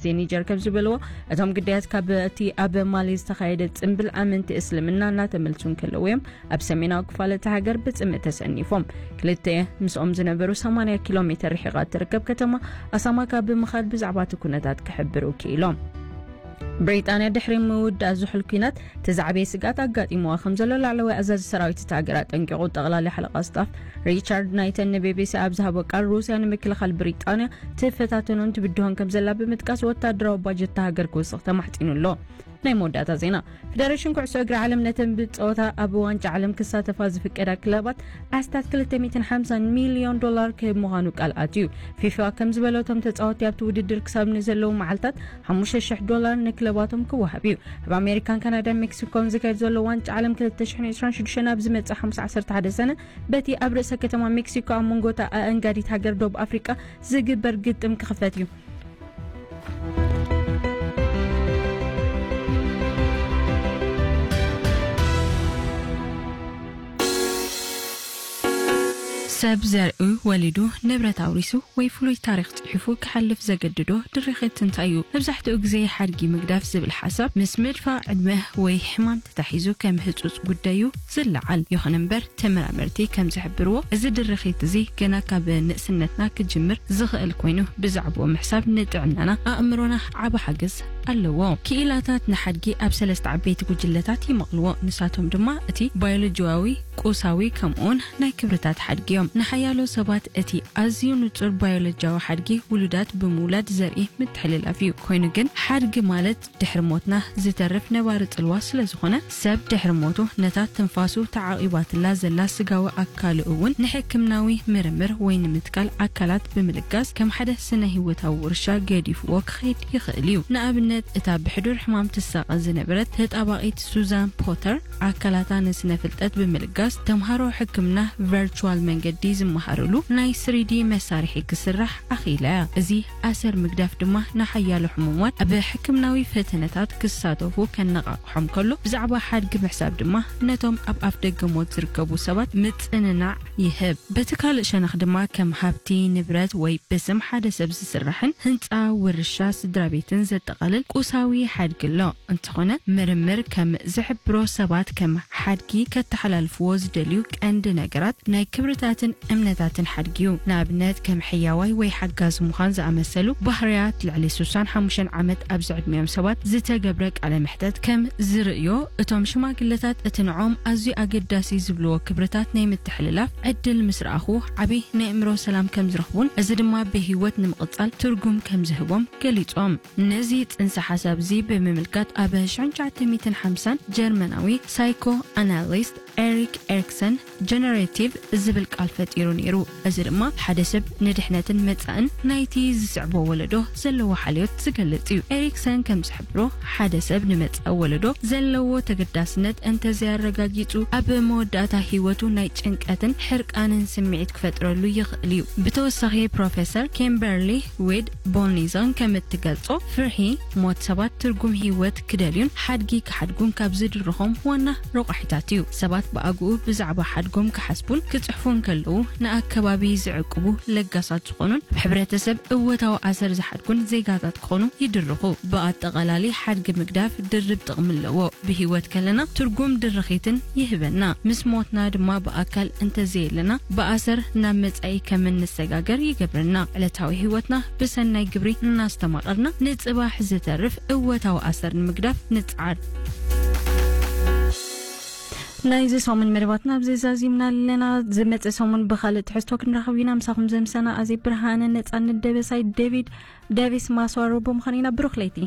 ዜኒጀር ከም ዝበልዎ፣ እቶም ግዳያት ካብ እቲ ኣብ ማሊ ዝተኻየደ ጽምብል ኣመንቲ እስልምና እናተመልሱ እንከለዉ እዮም ኣብ ሰሜናዊ ክፋል እታ ሃገር ብጽምእ ተሰኒፎም። ክልተ ምስኦም ዝነበሩ ሰማንያ ኪሎ ሜተር ርሒቓ እትርከብ ከተማ ኣሳማካ ብምኻድ ብዛዕባ እቲ ኩነታት ክሕብሩ ክኢሎም። ብሪጣንያ ድሕሪ ምውዳእ ዝሑል ኲናት እቲ ዝዓበየ ስግኣት ኣጋጢምዋ ከም ዘሎ ላዕለዋይ ኣዛዚ ሰራዊት እታ ሃገር ኣጠንቂቑ። ጠቕላሊ ሓለቓ ስታፍ ሪቻርድ ናይተን ንቢቢሲ ኣብ ዝሃቦ ቃል፣ ሩስያ ንምክልኻል ብሪጣንያ ትፈታተኖን ትብድሆን ከም ዘላ ብምጥቃስ፣ ወታደራዊ ባጀት እታ ሃገር ክውስኽ ተማሕጺኑ ኣሎ። ናይ መወዳእታ ዜና። ፌደሬሽን ኩዕሶ እግሪ ዓለም ነተን ብጸወታ ኣብ ዋንጫ ዓለም ክሳተፋ ዝፍቀዳ ክለባት ኣስታት ክልተ ሚእትን ሓምሳን ሚልዮን ዶላር ክህብ ምዃኑ ቃል ኣትዩ። ፊፋ ከም ዝበሎ፣ እቶም ተጻወትቲ ኣብቲ ውድድር ክሳብ ንዘለዉ መዓልታት ሓሙሽተ ሽሕ ዶላር ንክለባቶም ክወሃብ እዩ። ኣብ ኣሜሪካን ካናዳን ሜክሲኮን ዝካየድ ዘሎ ዋንጫ ዓለም ክልተ ሽሕን ዕስራን ሽዱሽተን ኣብ ዝመጽእ ሓሙስ ዓሰርተ ሓደ ሰነ በቲ ኣብ ርእሰ ከተማ ሜክሲኮ ኣብ መንጎ እታ ኣእንጋዲት ሃገር ደቡብ ኣፍሪቃ ዝግበር ግጥም ክኽፈት እዩ። ሰብ ዘርእዩ ወሊዱ፣ ንብረት ኣውሪሱ ወይ ፍሉይ ታሪኽ ጽሒፉ ክሓልፍ ዘገድዶ ድርኺት እንታይ እዩ? መብዛሕትኡ ግዜ ሓድጊ ምግዳፍ ዝብል ሓሳብ ምስ ምድፋእ ዕድመ ወይ ሕማም ተታሒዙ ከም ህጹጽ ጉዳይ እዩ ዝለዓል። ይኹን እምበር፣ ተመራመርቲ ከም ዝሕብርዎ፣ እዚ ድርኺት እዚ ገና ካብ ንእስነትና ክጅምር ዝኽእል ኮይኑ፣ ብዛዕባኡ ምሕሳብ ንጥዕናና ኣእምሮና ዓቢ ሓገዝ ኣለዎ። ክኢላታት ንሓድጊ ኣብ ሰለስተ ዓበይቲ ጉጅለታት ይመቕልዎ። ንሳቶም ድማ እቲ ባዮሎጂያዊ፣ ቁሳዊ፣ ከምኡውን ናይ ክብርታት ሓድጊ እዮም። ንሓያሎ ሰባት እቲ ኣዝዩ ንጹር ባዮሎጂያዊ ሓድጊ ውሉዳት ብምውላድ ዘርኢ ምትሕልላፍ እዩ። ኮይኑ ግን ሓድጊ ማለት ድሕሪ ሞትና ዝተርፍ ነባሪ ጽልዋ ስለ ዝኾነ፣ ሰብ ድሕሪ ሞቱ ነታ ትንፋሱ ተዓቒባትላ ዘላ ስጋዊ ኣካሉ እውን ንሕክምናዊ ምርምር ወይ ንምትካል ኣካላት ብምልጋስ ከም ሓደ ስነ ህይወታዊ ውርሻ ገዲፍዎ ክኸይድ ይኽእል እዩ። ንኣብነት፣ እታ ብሕዱር ሕማም ትሳቐ ዝነበረት ተጣባቒት ሱዛን ፖተር ኣካላታ ንስነ ፍልጠት ብምልጋስ ተምሃሮ ሕክምና ቨርቹዋል መንገዲ ዝመሃርሉ ናይ ስሪዲ መሳርሒ ክስራሕ ኣኽኢላ እያ። እዚ ኣሰር ምግዳፍ ድማ ንሓያሎ ሕሙማት ኣብ ሕክምናዊ ፈተነታት ክሳተፉ ከነቓቕሖም ከሎ፣ ብዛዕባ ሓድጊ ምሕሳብ ድማ ነቶም ኣብ ኣፍ ደገ ሞት ዝርከቡ ሰባት ምጽንናዕ ይህብ። በቲ ካልእ ሸነኽ ድማ ከም ሃብቲ፣ ንብረት ወይ ብስም ሓደ ሰብ ዝስራሕን ህንጻ ውርሻ ስድራ ቤትን ዘጠቓልል ቁሳዊ ሓድጊ ኣሎ። እንተኾነ፣ ምርምር ከም ዝሕብሮ ሰባት ከም ሓድጊ ከተሓላልፍዎ ዝደልዩ ቀንዲ ነገራት ናይ ክብርታትን እምነታትን ሓድጊ እዩ። ንኣብነት፣ ከም ሕያዋይ ወይ ሓጋዚ ምዃን ዝኣመሰሉ ባህርያት። ልዕሊ ስሳን ሓሙሽተን ዓመት ኣብ ዝዕድሚኦም ሰባት ዝተገብረ ቃለ መሕተት ከም ዝርእዮ፣ እቶም ሽማግለታት እቲ ንዖም ኣዝዩ ኣገዳሲ ዝብልዎ ክብርታት ናይ ምትሕልላፍ ዕድል ምስ ረኣኹ፣ ዓቢ ናይ ኣእምሮ ሰላም ከም ዝረኽቡን እዚ ድማ ብህይወት ንምቕጻል ትርጉም ከም ዝህቦም ገሊጾም። ነዚ ጽንሰ ሓሳብ እዚ ብምምልካት ኣብ ሽሕን ትሽዓተ ሚእትን ሓምሳን ጀርመናዊ ሳይኮ ኣናሊስት ኤሪክ ኤሪክሰን ጀነሬቲቭ ዝብል ቃል ፈጢሩ ነይሩ። እዚ ድማ ሓደ ሰብ ንድሕነትን መጻእን ናይቲ ዝስዕቦ ወለዶ ዘለዎ ሓልዮት ዝገልጽ እዩ። ኤሪክሰን ከም ዝሕብሮ፣ ሓደ ሰብ ንመጻኢ ወለዶ ዘለዎ ተገዳስነት እንተዘይኣረጋጊጹ፣ ኣብ መወዳእታ ህይወቱ ናይ ጭንቀትን ሕርቃንን ስምዒት ክፈጥረሉ ይኽእል እዩ። ብተወሳኺ፣ ፕሮፌሰር ኪምበርሊ ዊድ ቦልኒዘን ከም እትገልጾ፣ ፍርሒ ሞት ሰባት ትርጉም ህይወት ክደልዩን ሓድጊ ክሓድጉን ካብ ዝድርኾም ዋና ረቋሒታት እዩ። ሰባት ብኣግኡ ብዛዕባ ሓድጎም ክሓስቡን ክጽሕፉን ከለዉ፣ ንኣከባቢ ዝዕቅቡ፣ ለጋሳት ዝኾኑን ኣብ ሕብረተሰብ እወታዊ ኣሰር ዝሓድጉን ዜጋታት ክኾኑ ይድርኹ። ብኣጠቓላሊ፣ ሓድጊ ምግዳፍ ድርብ ጥቕሚ ኣለዎ። ብህይወት ከለና ትርጉም ድርኺትን ይህበና። ምስ ሞትና ድማ ብኣካል እንተዘየለና ብኣሰር ናብ መጻኢ ከም እንሰጋገር ይገብረና። ዕለታዊ ህይወትና ብሰናይ ግብሪ እናስተማቐርና ንጽባሕ ዝተርፍ እወታዊ ኣሰር ንምግዳፍ ንጽዓር። ናይዚ ሰሙን መደባትና ኣብዚ ዛዚምና ኣለና። ዝመጽእ ሰሙን ብኻልእ ትሕዝቶ ክንራኸብ ኢና። ምሳኹም ዘምሰና ኣዜ ብርሃነ፣ ነጻነት ደበሳይ፣ ዴቪድ ዴቪስ ማስዋሮ ብምዃን ኢና። ብሩኽ ለይቲ።